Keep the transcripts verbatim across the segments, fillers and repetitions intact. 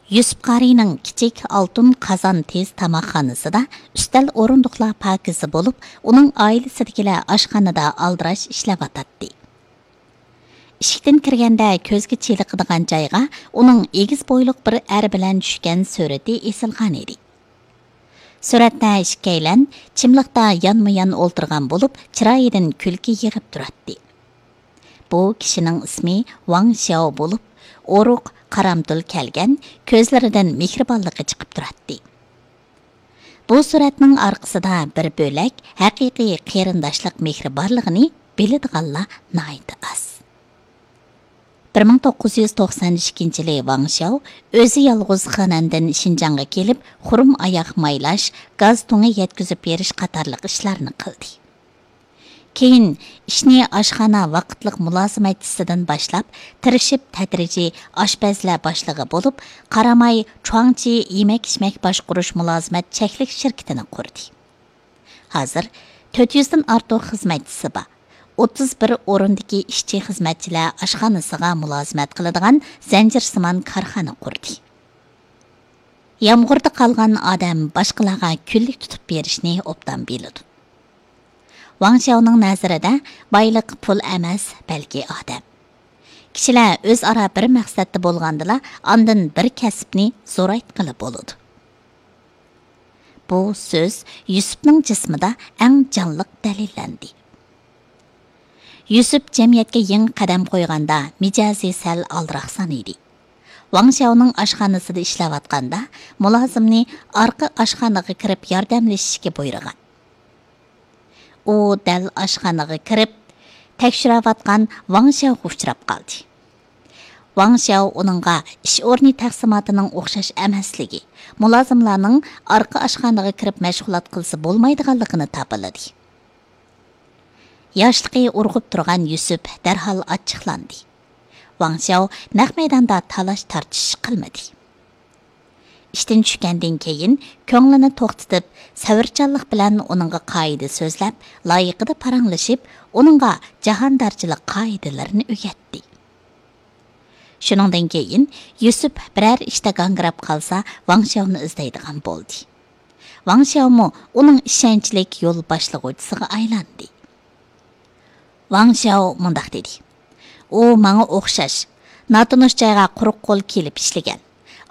يۈسۈپ قارىينىڭ كىچىك ئالتۇن قازان تېز تاماقخانىسىدا ئۈستەل ئورۇندۇقلار پاكىزە بولۇپ، ئۇنىڭ ئائىلىسىدىكىلەر ئاشخانىدا ئالدىراش ئىشلەۋاتاتتى. ئىشىكتىن كىرگەندە كۆزگە چېلىقىدىغان جايغا ئۇنىڭ ئېگىز بويلۇق بىر ئەر بىلەن چۈشكەن سۈرىتى ئېسىلغانىدى. سۈرەتتە ئىككىيلەن چىملىقتا يانمۇيان ئولتۇرغان بولۇپ، چىرايىدىن كۈلكە يېغىپ تۇراتتى. بۇ كىشىنىڭ ئىسمى ۋاڭ شياۋ بولۇپ، ئورۇق، قارامتۇل كەلگەن، كۆزلىرىدىن مېھرىبانلىقى چىقىپ تۇراتتى. بۇ سۈرەتنىڭ ئارقىسىدا بىر بۆلەك ھەقىقىي قېرىنداشلىق مېھرى بارلىقىنى بىلىدىغانلار ناھايىتى ئاز. بىر مىڭ توققۇز يۈز توقسان ئىككىنچى يىلى ۋاڭ شياۋ ئۆزى يالغۇز خېنەندىن شىنجاڭغا كېلىپ، خۇرۇم ئاياغ مايلاش، گاز تۇڭى يەتكۈزۈپ بېرىش قاتارلىق ئىشلارنى قىلدى. كېيىن ئىشنى ئاشخانا ۋاقىتلىق مۇلازىمەتچىسىدىن باشلاپ، تىرىشىپ تەدرىجىي ئاشپەزلەر باشلىقى بولۇپ، قاراماي چۇاڭچى يېمەك-ئىچمەك باشقۇرۇش مۇلازىمەت چەكلىك شىركىتىنى قۇردى. ھازىر تۆت يۈزدىن ئارتۇق خىزمەتچىسى بار. ئوتتۇز بىر ئورۇندىكى ئىشچى خىزمەتچىلەر ئاشخانىسىغا مۇلازىمەت قىلىدىغان زەنجىرسىمان كارخانا قۇردى. يامغۇردا قالغان ئادەم باشقىلارغا كۈنلۈك تۇتۇپ بېرىشنى ئوبدان بىلىدۇ. ۋاڭ شياۋنىڭ نەزىرىدە بايلىق پۇل ئەمەس، بەلكى ئادەم. كىشىلەر ئۆزئارا بىر مەقسەتتە بولغاندىلا، ئاندىن بىر كەسىپنى زورايتقىلى بولىدۇ. بۇ سۆز يۈسۈپنىڭ جىسمىدا ئەڭ جانلىق دەلىللەندى. يۈسۈپ جەمئىيەتكە يېڭى قەدەم قويغاندا مىجەزى سەل ئالدىراقسان ئىدى. ۋاڭ شياۋنىڭ ئاشخانىسىدا ئىشلەۋاتقاندا مۇلازىمنى ئارقا ئاشخانىغا كىرىپ ياردەملىشىشكە بۇيرۇغان. ئۇ دەل ئاشخانىغا كىرىپ، تەكشۈرۈۋاتقان ۋاڭ شياۋغا ئۇچراپ قالدى. ۋاڭ شياۋ ئۇنىڭغا ئىش ئورنى تەقسىماتىنىڭ ئوخشاش ئەمەسلىكى، مۇلازىملارنىڭ ئارقا ئاشخانىغا كىرىپ مەشغۇلات قىلسا بولمايدىغانلىقىنى تاپىلىدى. ياشلىقى ئۇرغۇپ تۇرغان يۈسۈپ دەرھال ئاچچىقلاندى. ۋاڭ شياۋ نەق مەيداندا تالاش-تارتىش قىلمىدى. ئىشتىن چۈشكەندىن كېيىن، كۆڭلىنى توختىتىپ، سەۋرچانلىق بىلەن ئۇنىڭغا قائىدە سۆزلەپ، لايىقىدا پاراڭلىشىپ، ئۇنىڭغا جاھاندارچىلىق قائىدىلىرىنى ئۆگەتتى. شۇنىڭدىن كېيىن يۈسۈپ بىرەر ئىشتا گاڭگىراپ قالسا، ۋاڭ شياۋنى ئىزدەيدىغان بولدى. ۋاڭ شياۋمۇ ئۇنىڭ ئىشەنچلىك يول باشلىغۇچىسىغا ئايلاندى. ۋاڭ شياۋ مۇنداق دېدى: «ئۇ ماڭا ئوخشاش، ناتونۇش جايغا قۇرۇق قول كېلىپ ئىشلىگەن.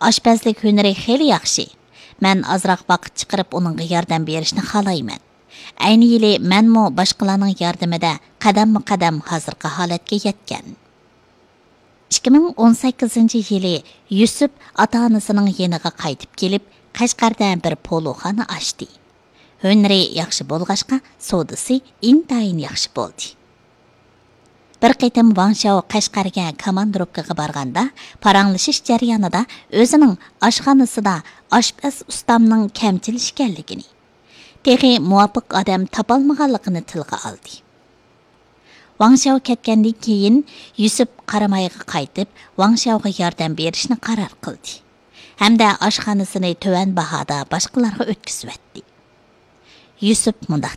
ئاشپەزلىك ھۈنىرى خېلى ياخشى. مەن ئازراق ۋاقىت چىقىرىپ ئۇنىڭغا ياردەم بېرىشنى خالايمەن. ئەينى يىلى مەنمۇ باشقىلارنىڭ ياردىمىدە قەدەممۇ قەدەم ھازىرقى ھالەتكە يەتكەن.» ئىككى مىڭ ئون سەككىزىنچى يىلى يۈسۈپ ئاتا-ئانىسىنىڭ يېنىغا قايتىپ كېلىپ، قەشقەردە بىر پولۇخانا ئاچتى. ھۈنىرى ياخشى بولغاچقا، سودىسى ئىنتايىن ياخشى بولدى. بىر قېتىم ۋاڭ شياۋ قەشقەرگە كاماندىروپكىغا بارغاندا، پاراڭلىشىش جەريانىدا ئۆزىنىڭ ئاشخانىسىدا ئاشپەز ئۇستامنىڭ كەمچىل ئىكەنلىكىنى، تېخى مۇۋاپىق ئادەم تاپالمىغانلىقىنى تىلغا ئالدى. ۋاڭ شياۋ كەتكەندىن كېيىن، يۈسۈپ قارامايغا قايتىپ، ۋاڭ شياۋغا ياردەم بېرىشنى قارار قىلدى ھەمدە ئاشخانىسىنى تۆۋەن باھادا باشقىلارغا ئۆتكۈزۈۋەتتى. يۈسۈپ مۇنداق